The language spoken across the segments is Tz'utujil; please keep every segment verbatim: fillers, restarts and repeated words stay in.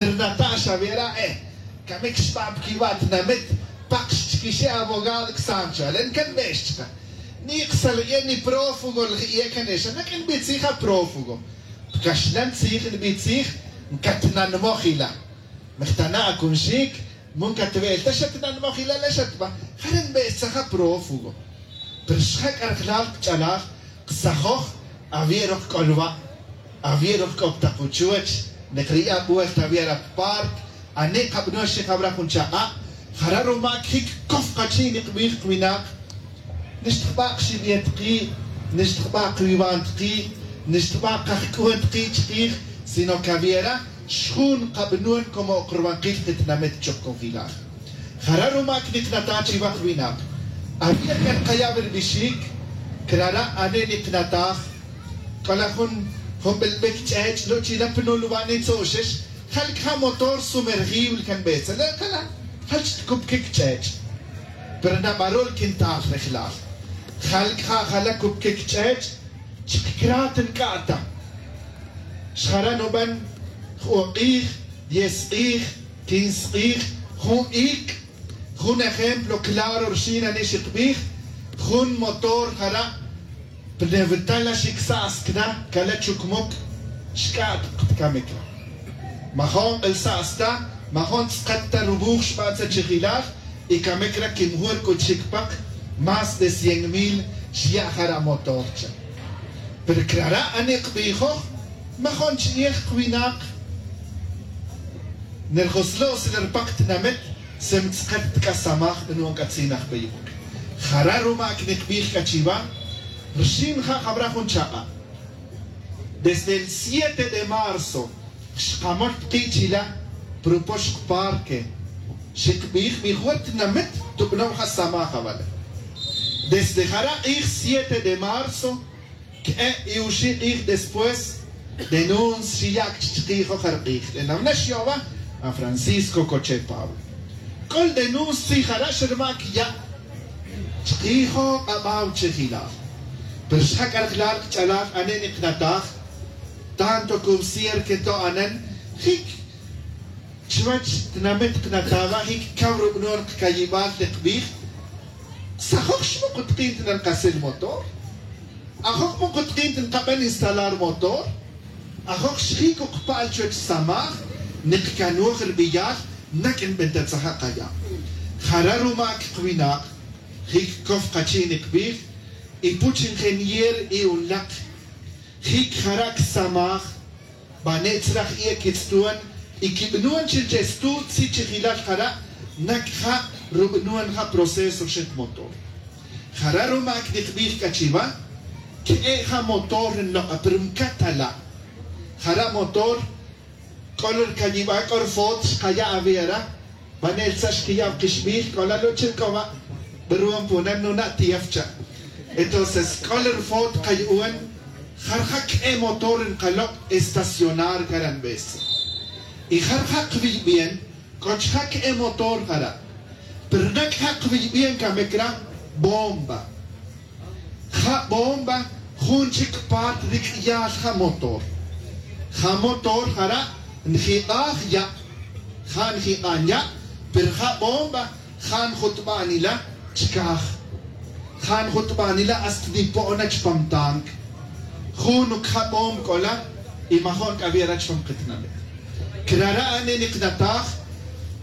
Rnata' xaviera e camic xba' pa quiva' tinamit. Pak xchiquixe abogado csan xa le ncanbex chka. Ni ksalbie ni prófugo lji'ie can exa naq'uin nbitzij aprófugo. Pcaxlan tzij nbitzij ncatnanmoj ila. Mejtana' acunxic. Mun catbe'el ta xatnanmoj ila le xatba. Jare' nbe'ex tzaj aprófugo. Pero xja' c'arjlal kch'alaj ksajoj. Avier ok c'o lwa'. Avier ok c'o ptak uchuch. Nek riya' vuelta avier appark. Ani' kabanon xijabra jun chak'a'. Jara' rumac jic cof kachi'nik kbij kwinak. Nixtjba' kxibiet ki'. Nixtjba' kwiwan ki'. Nixtjba' kajc'uhun ki' chkij. Sino que aviera xjun kabanon como ok rubankil kitinamit chocojilal. Jara' rumac niknata' chiva kwinak. Avier can kaya' wi ribixic. Crara' ani' niknataj. C'ola jun jun bilbic ch'ech' luchila pinul wa' nitzo'xex. Jal cja' motor sumergible can betzalel cala. Jal chitcupquic ch'ech'. Pero nabaru'l quintal rejlal. Jal cja' jala cupquic ch'ech'. Chkcrat nc'a'ta. Xjara' nuben. Jun k'ij. Diez k'ij. Quince k'ij. Jun ic'. Jun ejemplo claro rxin ani xikbij. Jun motor jara'. Pnevetal la xicsa'scna cala chucmuc. Xc'a'tk pcamic. Majo'n k'elsa'sta. Majo'n tz'ket ta rubuj xbantza chijilal. Y camic ra quimjur c'uchic pak. Más de cien mil xya' jara' motor cha. Pero crara' ani kbijoj. Majo'n ch'ij kwinak. Nerjoslo'sle rpak tinamit. Sem tz'ket ta c'a samaj. Nu'on c'atzinaj beyuc. Jara' rumac nikbij c'a chiva. Rxin ja' jabra jun chak'a'. Desde el siete de marzo. Xkamol pki' chila. Propox kparque. Xikbij mi jwet tinamit. Tubno' ja' samaj avale. Desde jara' k'ij siete de marzo. K'e' y uxi' k'ij después. Denunci xiya' chikijo' jark'ij le nawna xyo'ba. A francisco coche pablo. C'ol denunci tzij jara' xerma' cya'. Chikijo' k'abaw chijilal. Pero xja' c'arjlal kch'alal ane' niknataj. Tanto cubsier que to'anen. Jic chuwech tinamit knataba' jic caw rub'non kcayibal le kbij. Sajoj xmukutkin tinan kasil motor. Ajoj mukutkin tin kaben instalar motor. Ajoj xjic ukpa'l chuwech samaj. Nikcanoj rbiyal. Nak' nbentatzaj akaya'. Jara' rumak' kwinak. Jic cof kachi' nikbij. Y puch ingenier y unlak. Jic jara' csamaj. Bane' tzraj iye quitz'tuon. Y quib'nuon chi che stu' tzij chijilal jara'. Nac ja' rub'nuon ja' proceso xij motor. Jara' rumak' nikbij c'a chiva. Que'e' ja' motor nlok'a pero mcat ala'. Jara' motor. C'o la rcayibal c'o rfot xkaya' aviera. Banel tza xquiya' kixbij c'o la luchil c'o va. Beruon punan nuna' tief cha'. Entonces c'o la rfot kayu'un. Jarja' que'e' motor nkalok' estacionar caranbesa. Y jarja' kwiybien. C'o chja' que'e' motor jara'. Pero nac ja' kwiybien camic ra. Bomba. Ja' bomba. Jun chic part ric'yal ja' motor. Ja' motor jara' njik'aj ya'. Ja' njik'an ya'. Pero ja' bomba. Ja' njutba'nila chcaj. Ja' njutba'nila hasta nipo'na chpam tanque. Jun uc ja' bomba c'o la. Y majo'n c'a aviera chpam kitinamit. Crara' ani' niknataj.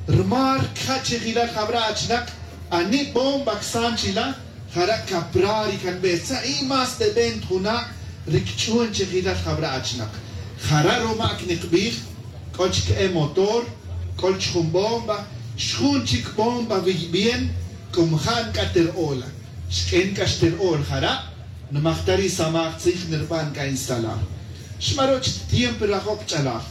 Rma rca' chijilal jabra' achinak. Ani' bomba csan chila. Jara' caprari canbetza y más de veinte juna'. Ricch'un chijilal jabra' achinak. Jara' rumak' nikbij. C'o chque'e' motor. C'o chjun bomba. Xjun chic bomba wiybien. C'um ja' nc'a ter'ola. Xq'uin c'a xter'ol jara'. Nmajta ri samaj tzij nirban c'a instalar. Xmaroch tiempo rajo' kch'alaj.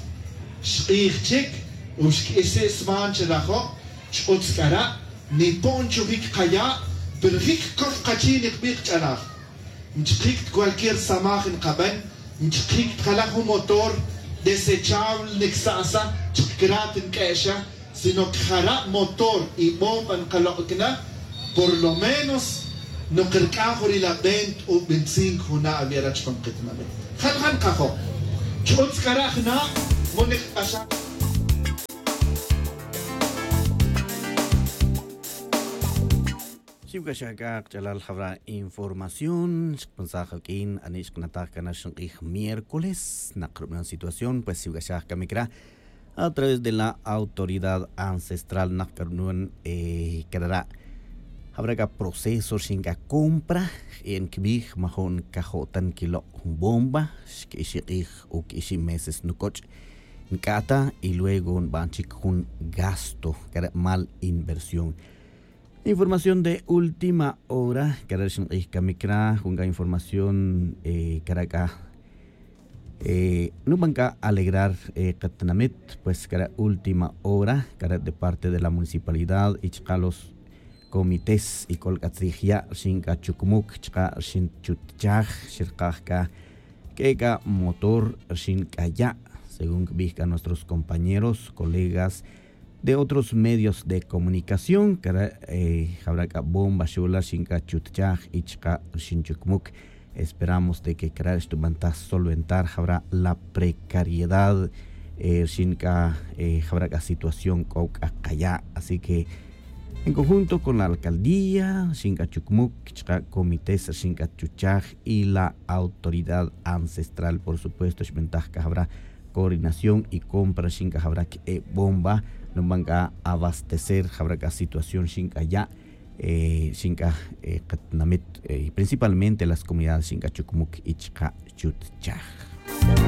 Xk'ij chic. Uxk'isi' sman chi rajo'. Ch'utz c'ara'. Nipo'n chujic kaya'. Pero jic cof kachi' nikbij kch'alaj. Nchkjic ta cualquier samaj nkaben. Nchkjic ta jala jun motor. Desechable nicsa'sa. Chkcrat nq'ue'xa. Sino que jara' motor y bomba nkalok' cana. Por lo menos. Nok rc'aj uri la veinte o veinticinco juna' aviera chpam kitinamit. Jal ja' nkajo'. Ch'utz c'ara' jna'. Mo nikc'axaj. Iwc'axaj c'a kach'alal jawra' información xkpensaj awq'uin ani' xkanataj c'a na xinq'uij miércoles nak rub'anon situación pues iwc'axaj camic ra a través de la autoridad ancestral nak c'a rub'anon. C'a rara' jawra' c'a proceso rxin c'a compra je'en cbij majo'n cajo'tan quilo' jun bomba xquixi' k'ij o quixi' meses nucoch' nc'ata y luego nban chic jun gasto c'a re' mal inversión. Información de última hora c'a re' rxin k'ij camic ra jun c'a información c'a ra' c'a nuban c'a alegrar katinamit pues c'a re' última hora c'a re' de parte de la municipalidad y chka' los comités y c'ol c'a tzij ya' rxin c'a chucmuc chka' rxin chutchaj xirkaj c'a c'e c'a motor rxin c'a ya'. Según cbij c'a nuestros compañeros colegas de otros medios de comunicación c'a re' jawra' c'a bomba xula rxin c'a chutchaj y chka' rxin chucmuc. Esperamos de que c'a re' xtubantaj solventar jawra' la precariedad rxin c'a jawra' c'a situación c'o c'a kaya'. Así que en conjunto con la alcaldía rxin c'a chucmuc chka' comités rxin c'a chuchaj y la autoridad ancestral por supuesto xbantaj c'a jawra' coordinación y compra rxin c'a jawra' que'e bomba nuban c'a abastecer jawra' c'a situación rxin c'a ya' rxin c'a katinamit principalmente las comunidades rxin c'a chucmuc y chka' chutchaj.